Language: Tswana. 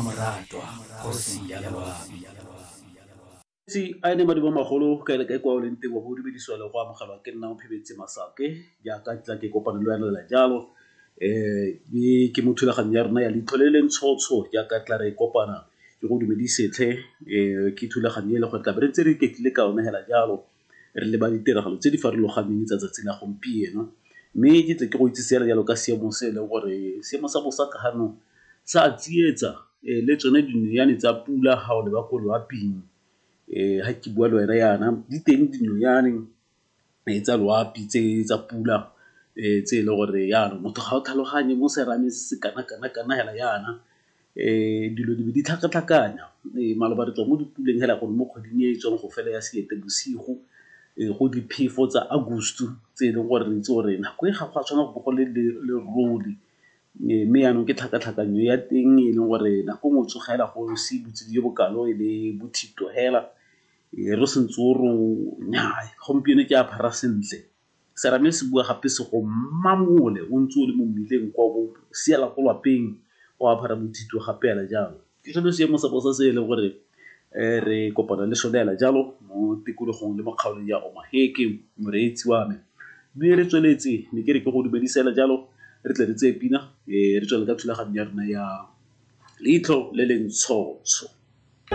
Mmamoratwa, kgosi ya loapi. Tsi a ene madumo magolo kae le kae kwa o leng teng wa bo dumedisiwa le go amogelwa ke nna Mophebetse Masake jaaka tla ke kopane le wena lela jalo. Ke mo thulaganyo ya rona ya Leitlho le le Ntshotsho jaaka tla re kopana ke go dumedisetlhe. Ke thulaganyo e le gore tla be re ntse re iketlile ka yone hela jalo, re leba ditiragalo tse di farologaneng tsa tsatsi la gompieno. Mme ke tle ke go itsise hela jalo ka seemo se e leng gore seemo sa bosa ka gano sa tsietsa, le tsone dinonyane tsa pula ga o leba ko loaping. Ga ke bua le wena yana di teng dinonyane tsa loapi tse tsa pula, tse e leng gore jaanong motho ga o tlhaloganye mo serameng se se kana-kana-kana hela yana, dilo di be di tlhakatlhakanya. Maloba re tswa mo dipuleng hela gore mo kgweding e e tswang go fela ya Seetebosigo, go diphefo tsa August tse e leng gore re itse gore nako e ga go a tshwanela go bo go le lerole. Mme jaanong ke tlhakatlhakanyo ya teng e leng gore nako nngwe o tsogela go se botsididi jo bokalo e le bothito hela, re sentse o re nnyaa gompieno ke apara sentle. Serame se bua gape se go mamole o ntse o le mo mmileng kwa o siela ko lapeng o apara bothito gape hela jalo. Ke sone seemo sa bosa se e leng gore re kopana le sone hela jalo mo tikologong le mo kgaolong ya Omaheke, moreetsi wa me. Mme re tsweletse, ne ke re ke go dumedise hela jalo, re tle re tseye pina, re tswelele ka thulaganyo ya rona ya Leitlho le le Ntshotsho.